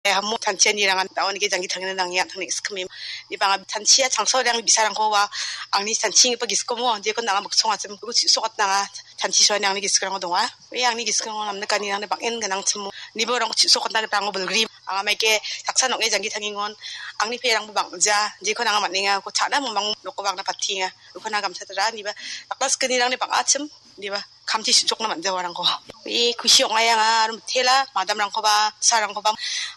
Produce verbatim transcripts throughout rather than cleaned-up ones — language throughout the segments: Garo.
Amo tantianirangan daonige janggi tangina nangia tangni iskimi. Ni banga tantia changso dang bisarangko wa angni tantigipa giskomo, jeko nanga miksong achim, ugu chisokatnanga, tanti soani angni giskrango donga. Ue angni giskrango namnikani nangni bang·en gnang chimo. Nibo rang chisokatna rango bilgri. Anga maike saksa nong·e janggi tangingon. Angni perangbo bang·ja, jeko nanga man·enga, ko cha·na mumang noko bang·na patinga. Uko na gamsa tara, niba dakla skenirangni bang·achim, niba kamchi su·chokna man·jawarangko. Ue kusi ong·aia anga, aro mitela, madamrangkoba, sarangkoba,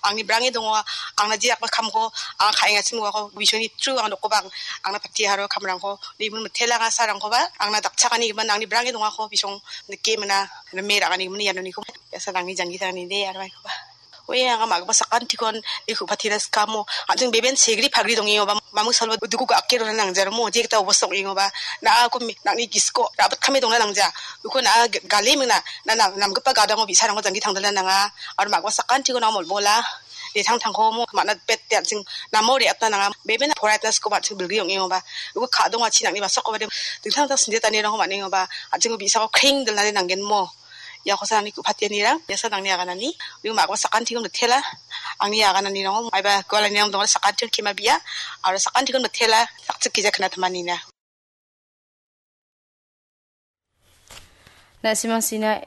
angni brange dongo, angna jerakba kamko, anga ka·engachim uako, bisongni tru anga dokobang, angna pati aro kamrangko, nimun mitela anga sarangkoba, angna dakchakani gimin, angni brange dongako, bisong nike mina, rime ra·ani gimin, ianoniko, biasa nangni janggi tangani de, aro maikoba. Oe, anga ma·gipa sakantikon, iko patira skamo, an·ching beben segri pagri dongengoba, mamung salwa duku ga·ake rona nangjaromo, jekta obostok ong·engoba, na·ako mi-, nang·ni gisko, rabit kame dongna nangja, uko na-, g-, gale mingna, na-, na-, namgipa gadango bi·sarangko janggi tangdalna nanga, aro ma·gipa sakantiko na molbola, detang tangkomo, ma·na bet de an·ching namo re·atna nanga, beben poraitna skoba an·ching bilgi ong·engoba, uko ka·dongachi nang·ni basakoba de, dingtang dingtang sindetanirangko man·engoba, an·chingko bi·sako kreng dilnade nanggenmo. Iakosa angni ku·patianirang, iasa nangni aganani, uyo ma·gipa sakantikon mitela, angni agananirango, maiba gualanirang donga sakantikon kema bia, aro sakantikon mitela, sakchik gija kna timanina. Na·simang sina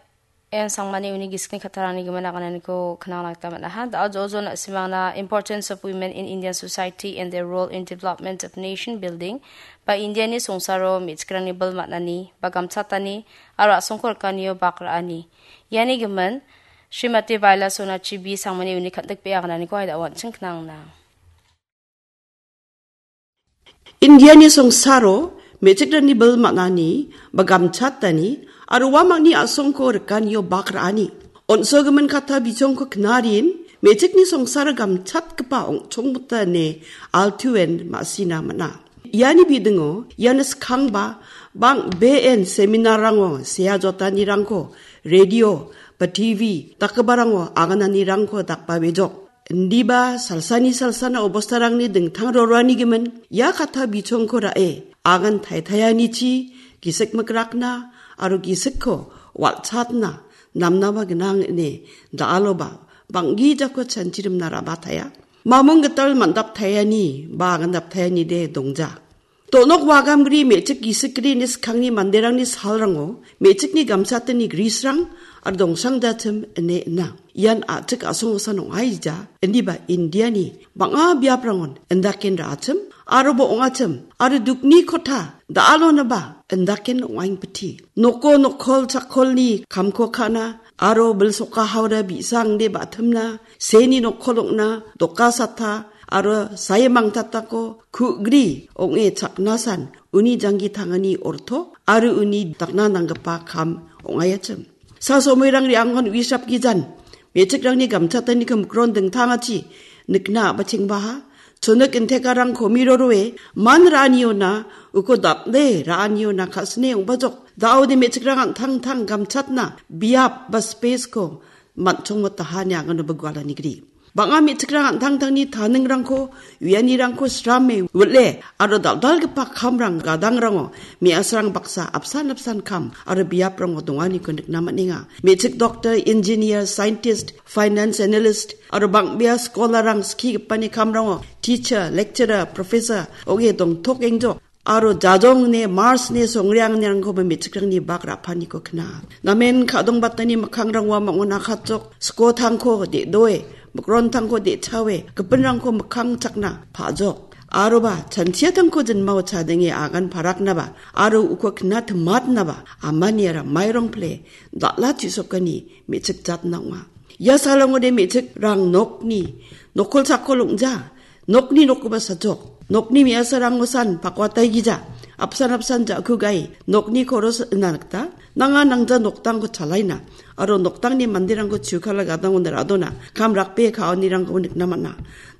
en sangmani uni gisikni kattarangni gimin agananiko knangna gita man·aha. Da·o jo jo na·simangna Importance of Women in Indian Society and Their Role in Development of Nation Building ba Indiani songsaro me·chikrangni bil man·ani ba gamchatani aro a·songko rikanio bak ra·ani. Iani gimin, Srimati Vaila Sonachi B sangmani uni kan·dikbea agananiko aida an·ching knangna. Indiani songsaro me·chikrangni bil man·ani ba gamchatani aro uamangni a·songko rikanio bak ra·ani. On·sogimin katta bichongko knarin me·chikni songsaro gamchatgipa ong·chongmota ine altuen ma·sina man·a. Iani bidingo iano skangba bang·been seminarrango sea jotanirangko, radio ba T V dakgiparango agananirangko dakbabejok. Indiba salsani salsana obostarangni dingtang roroani gimin, ia katta bichongko ra·e, agan taitaianichi gisik mikrakna aro gisikko wal·chatna namnaba gnang ine da·aloba bang·gijako chanchirimna rabataia. Mamung gital man·daptaiani ba agandaptaiani de dongja. Donok wagamgri me·chik gisikgrini skangni manderangni salrango me·chikni gamchatani grisrang aro dongsrang jachim ine ina. Ian a·chik a·songosan ong·aija, indiba Indiani bang·a biaprangon indaken ra·achim, aroba ong·achim, aro dukni kota da·alonaba indaken ong·aingpiti. Noko nokkol chakkolni kamko ka·na, aro bilsoka haura bi·sangde ba·timna, seni nokkol ong·na, doka sata, aro saimang tatako ku·gri ong·e chaknasan uni janggi tangani orto aro uni dakna nanggipa kam ong·aiachim. Sa somoirang re·angon uisrap gijan, me·chikrangni gamchataniko mikron dingtangachi nikna a·bachengbaha, chonik intekarang komi roroe man ra·aniona uko dal·e ra·aniona ka·sine ong·bajok. Da·ode me·chikrang an·tangtang gamchatna biap ba space-ko man·chongmotahani angano bigualanigri. Bang·a me·chikrang an·tangtangni taningrangko, uianirangko srame, wil·e, aro dal·dalgipa kamrang gadangrango me·asrang baksa apsan apsan kam aro biaprango donganiko nikna man·enga. Me·chik doctor, engineer, scientist, finance analyst, aro bang·bea scholarrang skigipani kamrango teacher, lecturer, professor ong·e dongtokengjok. Aro jajong ine Mars ine songreangnirangkoba me·chikrangni bak ra·paniko kna. Namen ka·dongbatani mikkangrangoa mangona katjok, skotangko de·doe, mikrontangko de·chawe, gipinrangko mikkang chakna pa·jok. Aroba chanchiatangko jinmao chadenge agan paraknaba, aro uko kna timatnaba, amaniara mairong pile, dal·a chu·sokani me·chik jatna ong·a. Ia salongode me·chikrang nokni nokkol chakkol ong·ja. Nokni nokkoba sajok. Nokni me·asarangosan pakwataigija. Apsan apsan ja·kugai. Nokni koros ina nikta. Nanga nangja noktangko chalaina. Aro noktangni manderangko chukala gadangona ra·dona. Kam rakbe ka·anirangkoba nikna man·a.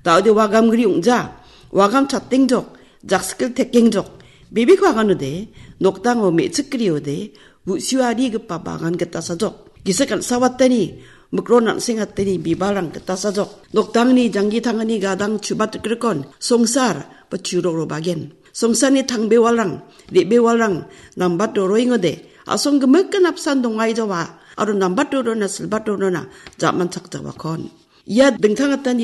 Da·ode wagamgri ong·ja. Wagam chatengjok. Jakskil tekengjok. Bebeko aganode. Noktango me·chikgriode. Bu·suarigipa bagan gita sajok. Gisik an·sawatani, mikron an·sengatani bibalrang gita sajok. Noktangni janggi tangani gadang chubat rikrikon, songsar ba churok robagen. Songsarni tangbewalrang, re·bewalrang, nambat doroengode, a·song gimikan apsan dongai jawa, aro nambat dorona, silbat dorona, jaman chakjawakon. Ia dingtang gitanirang